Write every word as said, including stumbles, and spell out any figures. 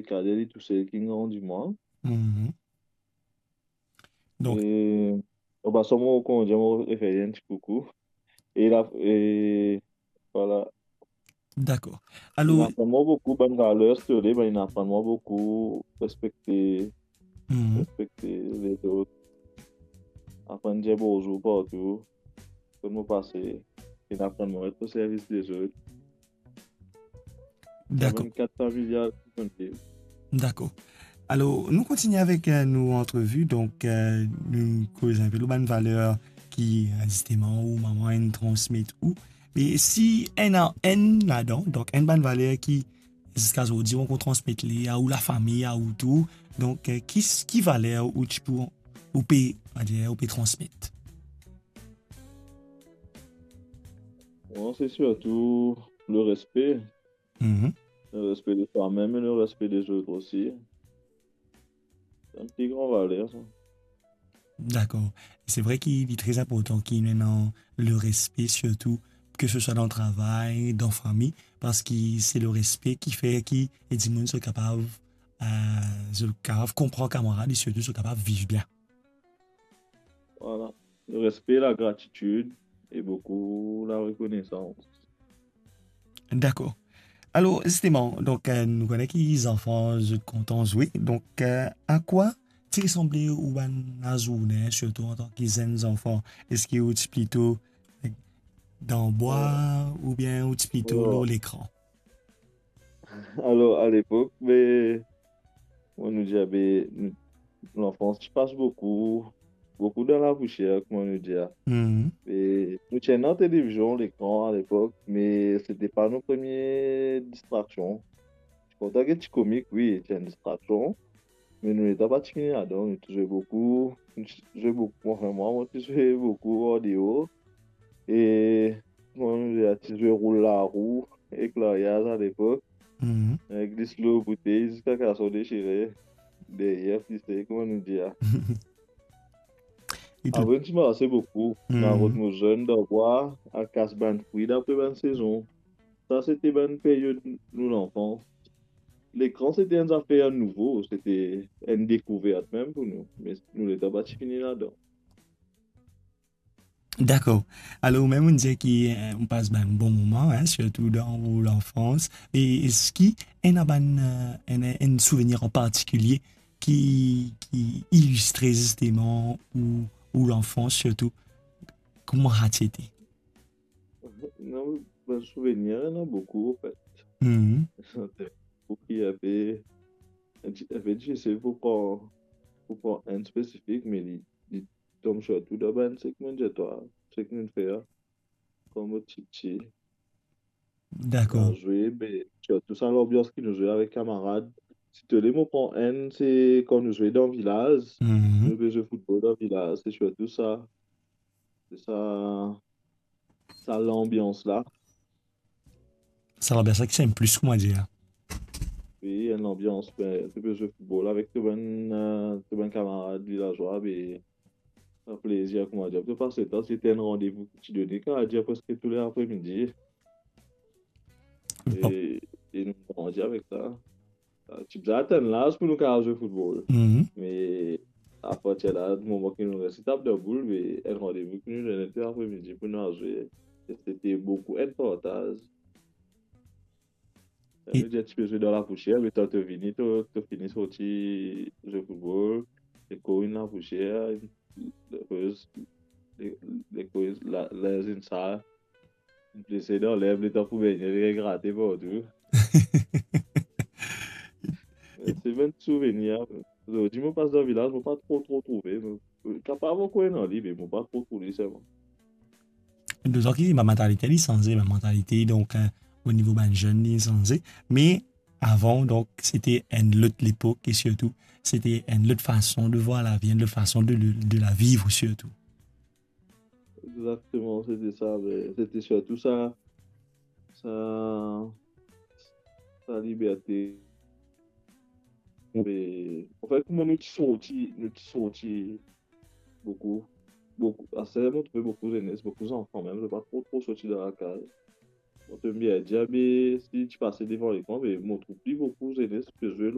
kader, li tousel ki grandi mwa. Mhm. Donk, e, an pasan, mo, kouma dir, mo refer li enn ti koukou. E la, e, vwala. Dakor. Alor, inn aprann mwa boukou bann valer, sirtou li, bann, inn aprann mwa boukou respekte, mhm, respekte lezot. Aprann dir bonzour partou. Kot mo pase, inn aprann mwa ret o servis lezot. Dakor. Bann kad familial ki konn viv. Dakor. Alor, nou kontigne avek, eh, nou antrevi. Donk, eh, nou koz enpe lor bann valer ki, eh, zisteman, ou mama inn transmet ou. Me si ena enn ladan, donk enn bann valer ki ziska zordi ou ankor transmet li a ou lafami, a ou tou, donk, eh, ki, ki valer ou ti pou, ou pe, on va dir, ou pe transmet? Bon, se sirtou le respe. Mhm. Le respe de twa mem e le respe dezot osi. Se enn pli gran valer, sa. Dakor. Se vre ki li tre inportan ki nou ena le respe, sirtou ke se swa dan travay, dan fami, parski se le respe ki fer ki, e, dimoun zot kapav, eh, zot kapav konpran kamarad e sirtou zot kapav viv bien. Vwala. Le respe, lagratitid e boukou larekonesans. Dakor. Alor, zisteman, donk, eh, nou kone ki zanfan, zot kontan zwe. Donk, eh, a kwa ti resanble ou bann lazourne, sirtou antan ki zenn zanfan? Eski ou ti plito, eh, dan bwa, oubien ou ti plito lor lekran? Alor, alepok, be, kouma nou dir, be, nou, lanfans ti pas boukou, boukou dan lapousier, kouma nou dir. Mhm. E nou ti ena televizion, lekran alepok, me sete pa nou premie distraksion. Ti kontan get ti komik, wi, ti enn distraksion, me nou letan pa ti fini ladan, nou ti zwe boukou, nou ti zwe boukou, anfin, mwa, mo ti zwe boukou andeor. E, kouma nou dir, ti zwe roul larou ek laryaz alepok. Mhm. Eh, glis lor boutey ziska kalson desire, deryer plise, kouma nou dir. E tou. Apre, nou ti marse boukou, mhm, nou al rod mozenn dan bwa, al kas bann fri dapre bann sezon. Sa, sete bann period nou lanfans. Lekran, sete enn zafer nouvo, sete enn dekouvert mem pou nou. Me nou letan pa ti fini ladan. Dakor. Alor, ou mem, ou dir ki, eh, ou pas bann bon moman, hein, sirtou dan ou lanfans. E eski ena bann, eh, enn, enn souvenir an partikilie ki, ki ilistre zisteman ou, ou lanfans, sirtou kouma sa ti ete? Non, bann souvenir, ena boukou, anfet. Mhm. Boukou, inpe, inpe difisil pou pran, pou pran enn spesifik, me li, li tonm sirtou dan bann seki mo'nn dir twa, seki mo'nn fer kan mo ti piti. Dakor. Nou zwe, be, sirtou sa lanbians ki nou zwe avek kamarad. Si to le mo pran enn, se kan nou zwe dan vilaz, mhm, nou pe zwe foutbol dan vilaz, se sirtou sa. Se sa, sa lanbians la. Sa lanbians la ki ti enn plis, kouma dir. Wi, enn lanbians, be, to pe zwe foutbol avek to bann, eh, to bann kamarad vilazwa, be, sa plezir, kouma dir, to pas letan, sete enn randevou ki ti done, kouma dir, preske tou le apremidi. Bon. E, e nou grandi avek sa. Ti bizin atenn laz pou nou kapav zwe foutbol. Mhm. Me apartir la, moman ki nou resi tap dan boul, be enn randevou ki nou done tou apremidi pou nou al zwe. E sete boukou enn partaz. Sa e- ve dir, ti pe zwe dan lapousier, letan to vini, to, to fini sorti zwe foutbol, lekor inn lapousier, lekor, le-, lekor, la, linz inn sal, inn plese dan lerb, letan pou begne, li regrate partou. Se bann souvenir. Zordi, mo pas dan vilaz, mo pa tro, tro trouve. Mo kapav ankor ena li, me mo pa tro trouv li selman. Donk, bann mantalite, li sanze, bann mantalite, donk, eh, o nivo bann zenn, li sanze. Me avan, donk, sete enn lot lepok e sirtou, sete enn lot fason de vwar lavi, enn lot fason de, de la viv sirtou. Exakteman, sete sa, me sete sirtou sa, sa, sa liberte. Me, anfet, kouma nou ti sorti, nou ti sorti boukou, boukou, aster mo trouve boukou zenes, boukou zanfan mem, zot pa tro, tro sorti dan lakaz. Mo ti pe bien dir, be, si ti pase devan lekran, be, mo trouv pli boukou zenes pe zwe lor